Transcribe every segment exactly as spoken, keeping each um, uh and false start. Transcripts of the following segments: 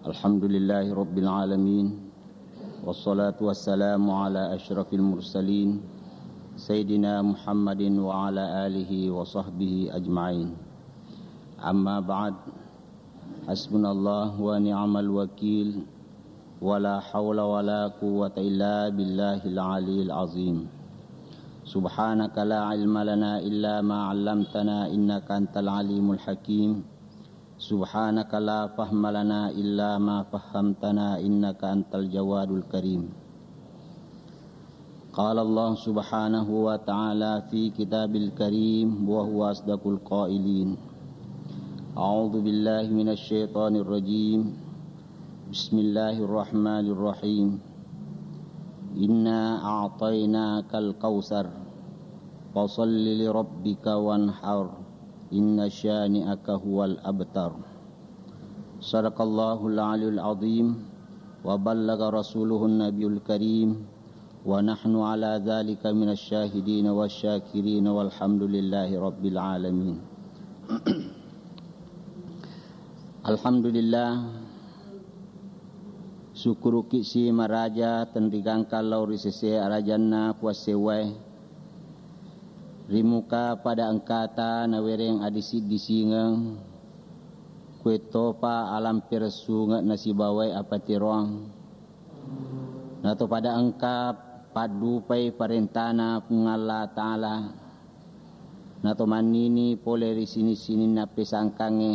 الحمد لله رب العالمين، والصلاة والسلام على أشرف المرسلين، سيدنا محمد وعلى آله وصحبه أجمعين. أما بعد، حسبنا الله ونعم الوكيل، ولا حول ولا قوة إلا بالله العلي العظيم. سبحانك لا علم لنا إلا ما علمتنا إنك أنت العليم الحكيم. سبحانك لا فهم لنا إلا ما فهمتنا إنك أنت الجواد الكريم. قال الله سبحانه وتعالى في كتاب الكريم وهو أصدق القائلين: أعوذ بالله من الشيطان الرجيم. بسم الله الرحمن الرحيم. إنا أعطيناك الكوثر. فصل لربك وانحر. إن شانئك هو الأبتر. صدق الله العلي العظيم وبلغ رسوله النبي الكريم ونحن على ذلك من الشاهدين والشاكرين والحمد لله رب العالمين. Alhamdulillah, sukkuruki si maraja tenrigangka lao ri sese arajanna puassewwae. Ri muka pada engkata nawereng adisi-disingeng, kuetopa alang peressunge nasibawae apateroang. Nato pada engka paddupai parentana Puang Allah Ta'ala. Nato mannini pole ri sining-sininna pesangkangnge,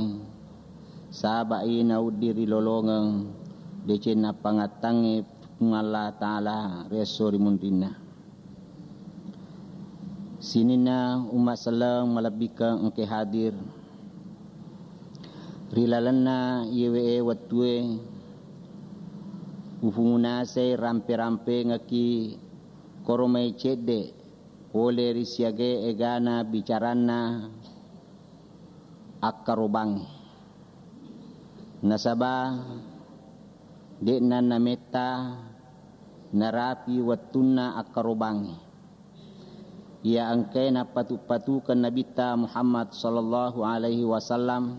saba'i nauddi ri lolongeng decenna pangattangnge Puang Allah Ta'ala ri esso ri munrinna. Sininna umma selleng malebbikeng engke hadir ri lalenna iyewe wettue, ufungunasai rampe-rampengekki koro mai cedde pole ri siaga egana bicaranna akkarobangnge. Nasaba de'na nametta narapi wettunna akkarobangnge. Iya engkae nappatu-patukeng Nabitta Muhammad sallallahu alaihi wasallam,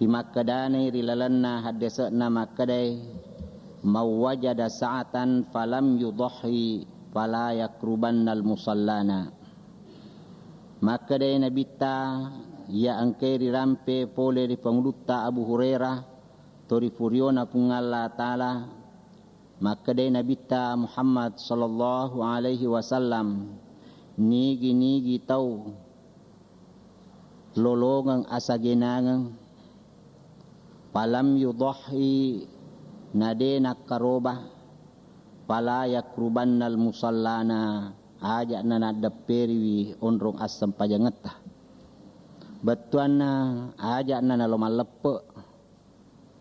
rimakkedanai ri lalenna haddese'na makkedai, "Man wajada sa'atan falam yudhhi fala yakrubannal musallana." Makkedai Nabitta, iya engkae rirampe pole ri pangulutta Abu Hurairah, to ri furiona Puang Allah Ta'ala, makkedai Nabitta Muhammad sallallahu alaihi wasallam, nigi-nigi tau lolongeng asagenangeng, falam yudhhi, nade nakkaroba, fala yakrubannal musallana, aja'na naddepperiwi onrong assempajangetta. Bettuanna aja'na nalo malleppe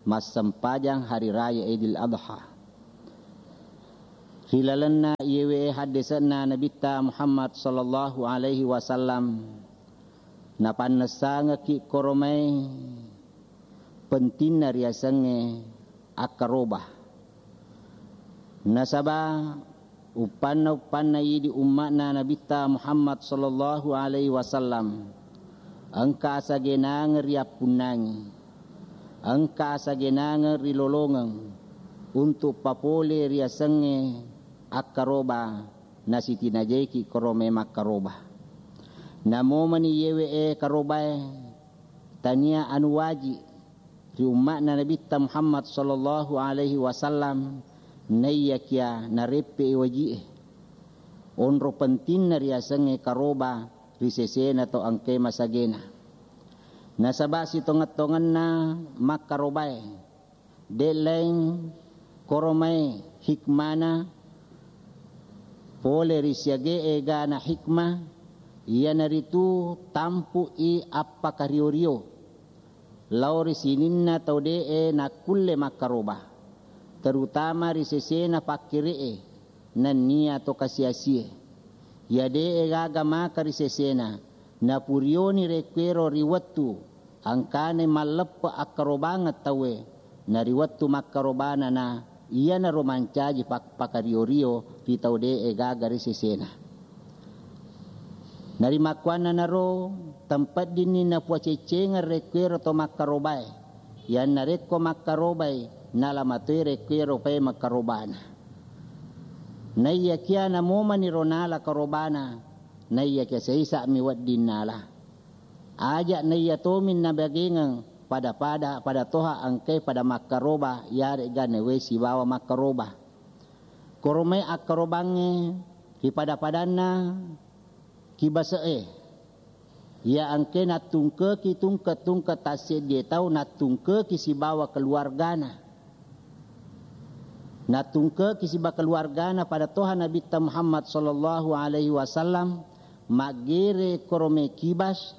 massempajang hari raya Idul Adha. Ri lalenna iyewe haddese'na Nabitta Muhammad sallallahu alaihi wasallam, napannessangekki koromai pentinna riasengnge akkaroba. Nasaba uppanna-uppanna idi umma'na Nabitta Muhammad sallallahu alaihi wasallam engka asagenangeng riappunnangi, engka asagenangeng rilolongeng untuk papole riasengnge akkaroba, nasitinajaiki koromai makkaroba. Namomani yewe e karobae, tania anu waji ri umma'na Nabitta Muhammad sallallahu alaihi wasallam, naiyakia nareppe'i waji'e. Onro pentinna riasengnge karoba ri sesena to engkae masagena. Nasaba sitongeng-tongenna makkarobae, de' laing koromai hikmana pole ri siaga egana hikmah, iyanaritu tampu'i appakario-rio lao ri sininna tau de'e nakkulle makkaroba, terutama ri sesena pakkere'e nennia to kasi-asie. Iya de'e gaga maka ri sesena, napurioni rekkuero ri wettu engkana malleppe akkarobangeng tauwe, na ri wettu makkarobana na iyanaro mancaji pak-, pakario-rio ri tau de'e gaga ri sesena. Narimakkuannanaro, tempeddinni napuaceccengeng rekkuero to makkarobae. Iyannarekko makkarobai, nala matoi rekkuero paimeng karobana. Naiyakiya namomaniro nala karobana, naiyakiya saisa'mi wedding nala. Aja' naiya tomi nabagengeng pada-pada, pada toha engkai pada makkaroba, iyare'ga nawai sibawa makkaroba. Koromai akkarobangnge ri pada-padanna kibase'e. Iya engke nattungkeki tungke-tungke tasseddie tau, nattungkeki sibawa keluargana. Nattungkeki sibawa keluargana pada toha Nabitta Muhammad sallallahu alaihi wasallam, maggere koromai kibas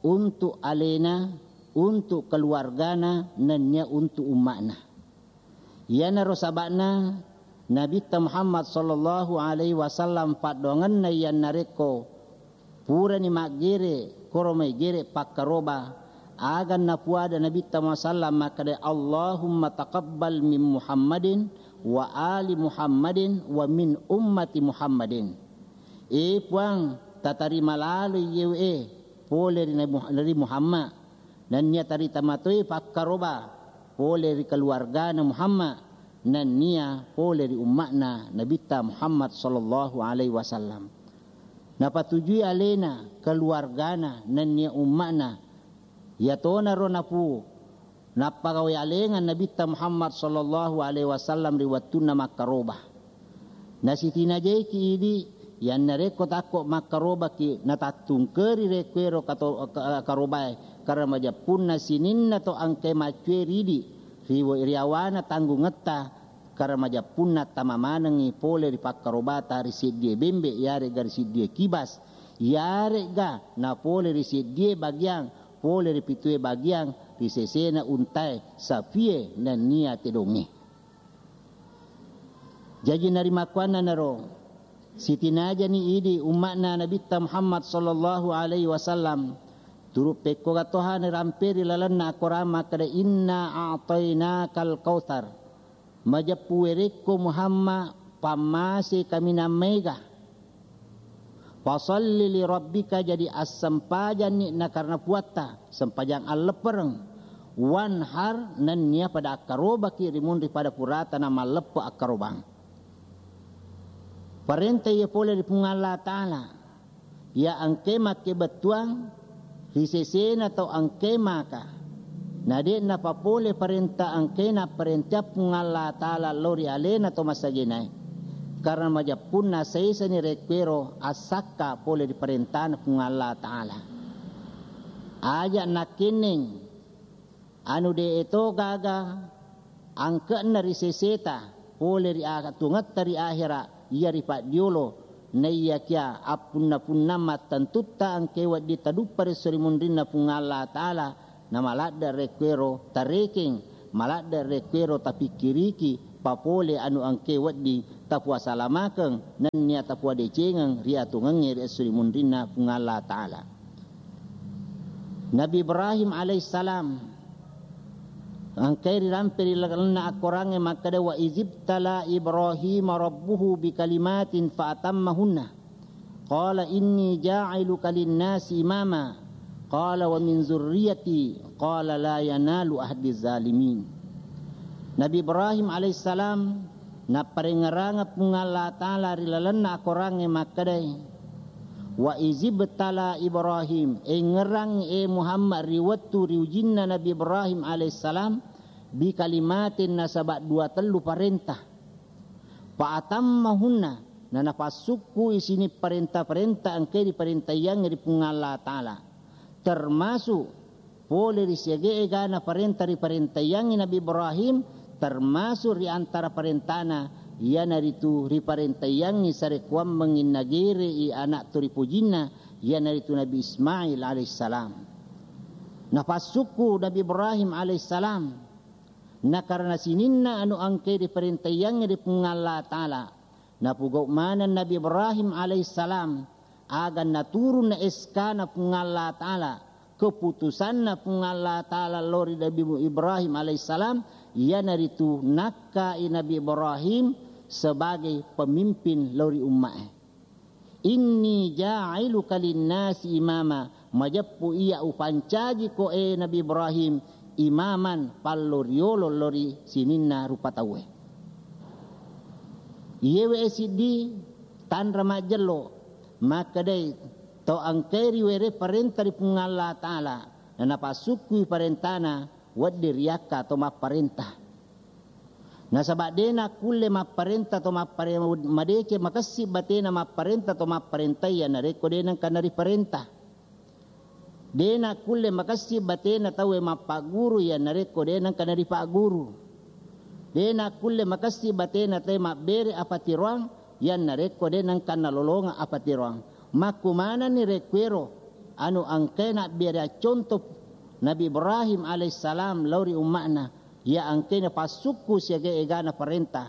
untuk alena, untuk keluargana, nennia untuk umma'na. Iyanaro saba'na Nabitta Muhammad sallallahu alaihi wasallam paddoangenna iyannarekko purani maggere koromai gere pakkaroba, aga napuada Nabitta Muhammad sallam makkeda, "Allahumma taqabbal min Muhammadin wa ali Muhammadin wa min ummati Muhammadin." E Puang, tatarima lalo iyewe pole ri Nabi Muh-, ri Muhammad. Nennia tarita matoi pakkaroba pole ri keluargana Muhammad, nennia pole ri umma'na Nabitta Muhammad sallallahu alaihi wasallam. Napatujui alena, keluargana, nennia umma'na. Iyatonaro napu-, nappagawe alengeng Nabitta Muhammad sallallahu alaihi wasallam ri wettunna makkaroba. Nasitinajaiki idi, iyannarekko takko makkarobaki, natattungkeri rekkuero kato-, ka-, karobae, karena majeppunna sininna to engkai maccue ridi, ri-, riawana tanggungetta, karena majeppunna tama manengngi pole ri pakkarobata ri seddie bembe, iyare'ga ri seddie kibas, iyare'ga napole ri seddie bagiang, pole ri pitue bagiang, ri sesena untae, sapie, nennia tedongnge. Jaji narimakkuannanaro, sitinajani idi umma'na Nabitta Muhammad sallallahu alaihi wasallam, turu pekkoga toha niramperi lalenna akorang makkeda, "Inna a'tainakal kautsar." Majeppu werekko Muhammad, pammase kaminang maega. Fasalli li rabbika, jadi assempajanni na karena puatta, sempajang alleppereng. Wanhar, nennia pada akkarobaki ri munri pada purata na malleppe akkarobang. Parenta iya pole ri Puang Allah Ta'ala. Iya engke makkebettuang ri sesena tau engke maka. Na de' napapole parenta engke napparenta Puang Allah Ta'ala lao ri alena to masagenae. Karena majeppunna saisani rekkuero assakka pole ri parentana Puang Allah Ta'ala. Aja' nakkenneng anu de' to gaga angke'na ri seseta pole ri a-, tuangetta ri ahera, iya ri paddiolo, naiyakiya appunna-punna mattentutta engke wedding taduppa ri esso ri munrinna Puang Allah Ta'ala, na maladde' rekkuero tarekeng, maladde' rekkuero tapikkiriki, papole anu engke wedding tapuasalamakeng, nennia tapuadecengeng ri atuongengnge ri esso ri munrinna Puang Allah Ta'ala. Nabi Ibrahim alaihissalam engkai rirampe ri lalenna akkorangnge makkeda, "Wa izibtala Ibrahima rabbuhu bikalimatin fa atammahunna. Qala inni ja'iluka linnasi imama. Qala wa min zurriyati. Qala la yanalu ahdi zalimin." Nabi Ibrahim alaihissalam napparengngerangeng Puang Allah Ta'ala ri lalenna akorangnge makkedai, "Wa izibtala Ibrahim," engngerang e Muhammad ri wettu ri ujinna Nabi Ibrahim alaihissalam, "bi kalimatin," nasaba dua tellu parenta. "Fa atammahunna," nanapassukku isini parenta-parenta engkai riparentaiangnge ri Puang Allah Ta'ala. Termasuk pole ri siaga egana parenta riparentaiangngi Nabi Ibrahim, termasuk ri antara parentana, iyanaritu riparentaiangngi sarekkuammengngi nagerei anak toripojinna, iyanaritu Nabi Ismail alaihissalam. Napassukku Nabi Ibrahim alaihissalam, na karena sininna anu engkai riparentaiangngi ri Puang Allah Ta'ala, napugau maneng Nabi Ibrahim alaihissalam, aga naturunna S K-na Puang Allah Ta'ala, keputusanna Puang Allah Ta'ala lao ri Nabi Ibrahim alaihissalam, iyanaritu nakkai Nabi Ibrahim sebagai pemimpin lao ri ummae. "Inni ja'iluka linnasi imama," majeppu iya upancajiko e Nabi Ibrahim, imaman, pallo riolo lao ri sininna rupa tauwe. Iyewe siddi tanra majjello, makkedai to engkae riwere parenta ri Puang Allah Ta'ala, na napassukkui parentana, wedding riakka to mapparenta. Nasaba de nakkulle mapparenta to mappare-, madeceng makessing batena mapparenta to mapparentai, iya narekko de nengka nariparenta. De nakkulle makessing batena tauwe mappagguru, iya narekko de nengka naripagguru. De nakkulle makessing batena tauwe mabbere apatiroang, iya narekko de nengka nalolongeng apatiroang. Makkumanenni rekkuero, anu engkae nabbere acconto Nabi Ibrahim alaihissalam lao ri umma'na, iya engkae napassukku siaga egana parenta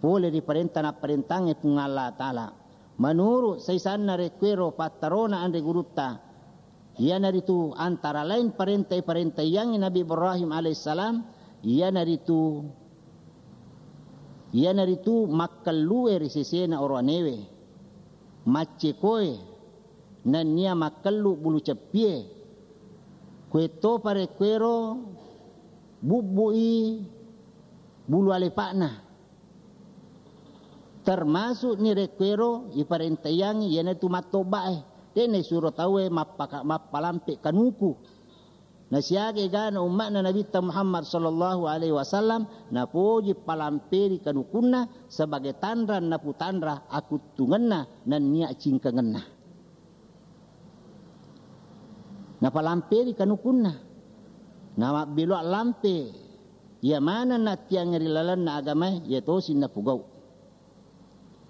pole ri parenta napparentangnge Puang Allah Ta'ala. Menurut saisanna rekkuero pattarona anre gurutta, iyanaritu antara lain parenta iparentaiyangngi Nabi Ibrahim alaihissalam, iyanaritu, iyanaritu makkellue ri sesena oroanewe, maccekoe, nennia makkellu bulu ceppie, kuettopa rekkuero bubbu'i bulu alepa'na. Termasuk ni rekkuero iparentaiyangngi iyanatu mattobba'e. De naisuro tauwe mappaka-, mappalampe kanuku. Nasiaga egana umma'na Nabitta Muhammad sallallahu alaihi wasallam napoji palamperi kanukunna sebagai tanra naputanra akuttungenna nennia cingkengenna. Napalamperi kanukunna. Namabbeloa lampe. Iya maneng nattiangnge ri lalenna agamae, iya tosi napogau.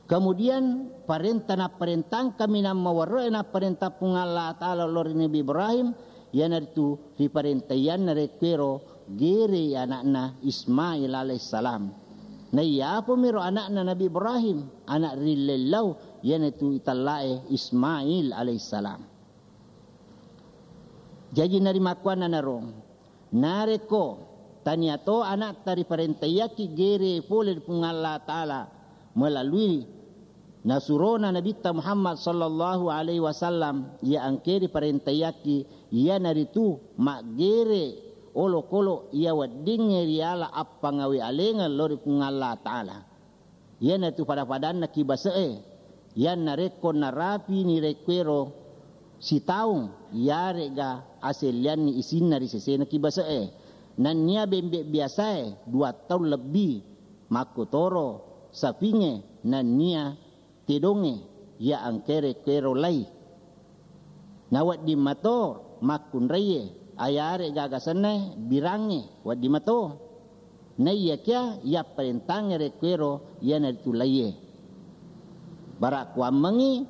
Kemudian parenta napparentang kaminang mawerro'e napparentang Puang Allah Ta'ala lao ri Nabi Ibrahim, iyanaritu riparentaianna rekkuero gerei ana'na Ismail alaihissalam. Naiyapomiro ana'na Nabi Ibrahim, ana' rillellau, iyanatu itellae Ismail alaihissalam. Jaji narimakkuannanaro, narekko tania to ana'ta riparentaiakki gere pole ri Puang Allah Ta'ala melalui nasurona Nabitta Muhammad sallallahu alaihi wasallam, iya engkae riparentaiakki, iyanaritu maggere olokolo iya weddingnge riala appangawe alengeng lao ri Puang Allah Ta'ala. Iyanatu pada-padanna ki base'e. Iyanna rekko narapini rekkuero sitaung, iyare'ga asellianni isinna ri sesena ki base'e. Nennia bembe biasae dua taung lebbi, makkutoro sapingnge nennia tedongnge, iya engkae rekkuero lai. Nawedding mato makkunraie, ayare gaga sennae birangnge, wedding mato. Naiyakia yapparentangnge rekkuero iyanaritu laie. Bara kuammengngi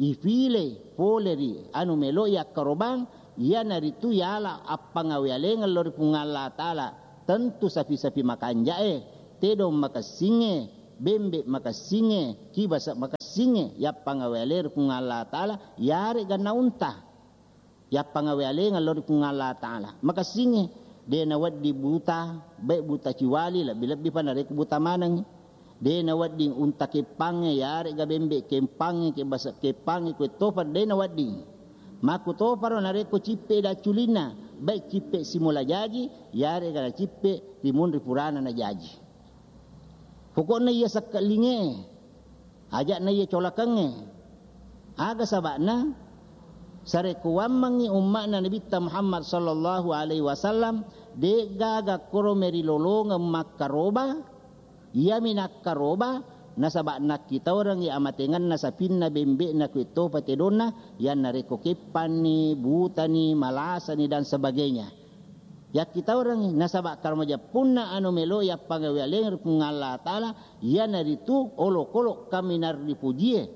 ifilei pole ri anu melo yakkarobang, iyanaritu yala appangawe alengeng lao ri Puang Allah Ta'ala, tentu sapi-sapi makanjae, tedong makessingnge, bembe makessingnge, kibasa makessingnge, yappangawe ale ri Puang Allah Ta'ala, yare'ga na unta. Yappangawe alengeng lao ri Puang Allah Ta'ala. Makessingnge, de nawedding buta, baik buta ciwali, lebbi-lebbi pa narekko buta manengngi. De nawedding unta keppangnge, yare'ga bembe keppangnge, kebasa keppangnge, kuettopa de nawedding. Makkutoparo narekko cippe dacculinna, baik cippe simula jaji, yare'ga nacippe rimunri purana najaji. Pokokna iya sekke'linge, aja'na iya colakengnge. Aga saba'na? Sarekkuammengngi umma'na Nabitta Muhammad sallallahu alaihi wasallam, de'gaga koro merilolongeng makkaroba, iyami nakkaroba, nasaba nakkitaurengngi amatengenna sapinna bembe'na kuettopa tedonna, iyannarekko keppanni, butani, malasani, dan sebagainya. Yakkitaurengngi, nasaba karamajeppunna anu melo yappangawe aleng ri Puang Allah Ta'ala, iyanaritu olokolo kaminang ripujie,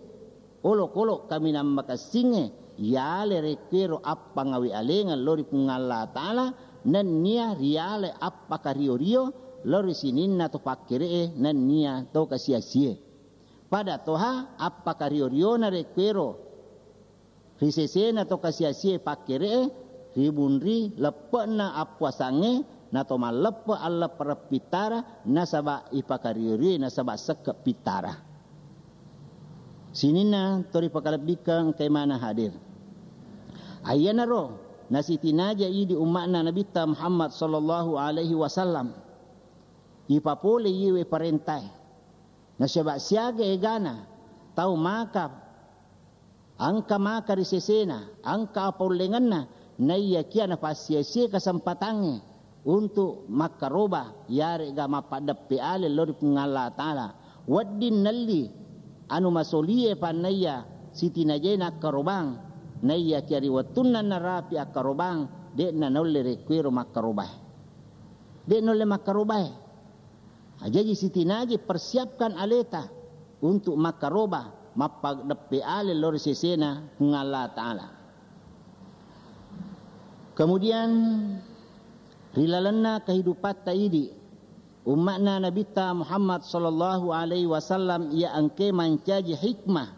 olokolo kaminang makessingnge, yale rekkuero appangawe alengeng lao ri Puang Allah Ta'ala, nennia riale appakario-rio lao ri sininna to pakkere'e, nennia to kasiasie. Pada toha appakario-riona rekkuero ri sesena to kasiasie pakkere'e, ribunri leppe'na appuasangnge, nato malleppe alleppereng pittara, nasaba ipakario-rioi, nasaba sekke pittara. Sininna to ripakalebbikeng engkai maneng hadir. Aiyanaro Nasitinaja idi umma'na Nabitta Muhammad sallallahu alaihi wasallam. Ipapole iyewe parentae. Nasaba siaga egana tau maka, engka maka ri sesena, engka apaullengenna, naiyakia napassiasie kesempatangnge untuk makkaroba, yarega mappaddeppe ale lao ri Puang Allah Ta'ala. Wedding nelli anu masolie pannaiya sitinajai nakkarobang, naiyakia ri wettunna narapi akkarobang, de'na naulle rekkuero makkarobae. De' naulle makkarobae. Jaji sitinaji persiapkan aleta untuk makkaroba, mappaddeppe ale lao ri sesena Puang Allah Ta'ala. Kemudian, ri lalenna kehidupatta idi, umma'na Nabitta Muhammad sallallahu alaihi wasallam iya engke mancaji hikmah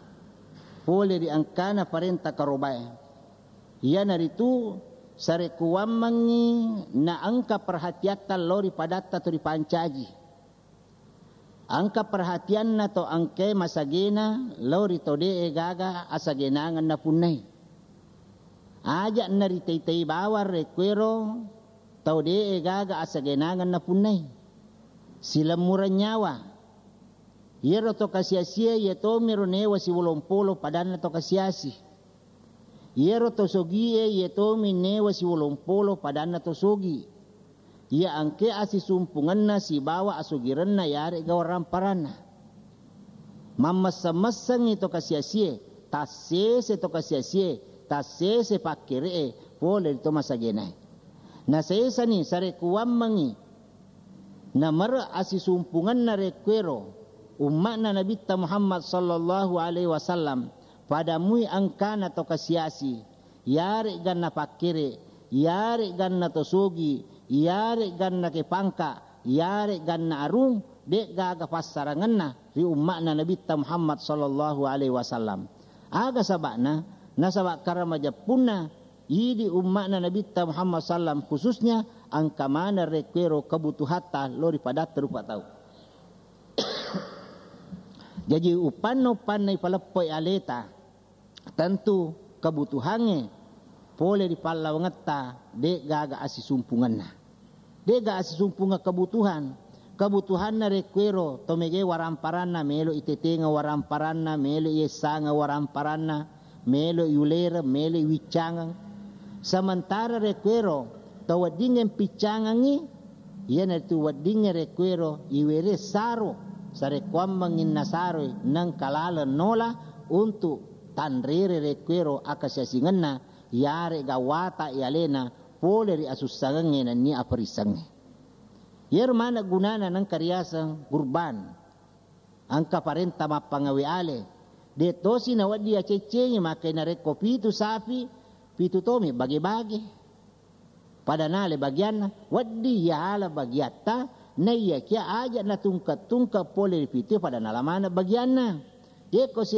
pole ri engkana parenta karobae. Iyanaritu sarekkuwammengngi naengka perhatiatta lao ri padatta to ripancaji. Engka perhatianna to engkae masagena lao ri tau de'e gaga asagenangeng napunnai. Aja' naritai-tai bawang rekkuero tau de'e gaga asagenangeng napunnai. Silemmureng nyawa. Iyaro to kasiasie iye tomiro newa siwolompolo padanna to kasiasi. Iyaro to sogie iye tomi newa siwolompolo padanna to sogi. Iya engke asisumpungenna sibawa asogirenna yarega waramparanna. Mammesseng-messengngi to kasiasie, tassese to kasiasie, tassese pakkere'e pole ri to masagenae. Nasesani sarekkuwammengngi namere asisumpungenna rekkuero umma'na Nabitta Muhammad sallallahu alaihi wasallam, pada mui engkana to kasiasi, yare'ganna pakkere, yare'ganna to sogi, yare'ganna ke pangka, yare'ganna arung, de'gaga passarangenna ri umma'na Nabitta Muhammad sallallahu alaihi wasallam. Aga saba'na? Nasaba karamajeppunna idi umma'na Nabitta Muhammad sallam khususnya engka maneng rekkuero kebutuhatta lao ri padatta rupa tau. Jaji upanna-upanna ipaleppoi aleta, tentu kebutuhangnge pole ri pallawangetta de'gaga asisumpungenna. De'ga asisumpunga kebutuhan. Kebutuhanna rekkuero to mege waramparanna, melo itetengeng waramparanna, melo iessangeng waramparanna, melo iulereng, melo iwiccangeng. Sementara rekkuero to weddingnge mpiccangengngi, iyanaritu weddingnge rekkuero iwere saro, sarekkuammengnginna saroi nengka laleng nola untuk tanrere rekkuero akasiasingenna, yarega wata i alena pole ri asussangengnge nennia aperissengnge. Iyaro maneng gunana nengka riaseng gurban. Engka parenta mappangawe ale. De' tosi nawedding yaceccengi, makkai narekko pitu sapi, pitu tomi bage-bage. Pada nala bagianna, wedding yala bagiatta, naiyakia aja' natungke-tungke pole ri pitu pada nala maneng bagianna. Yekko si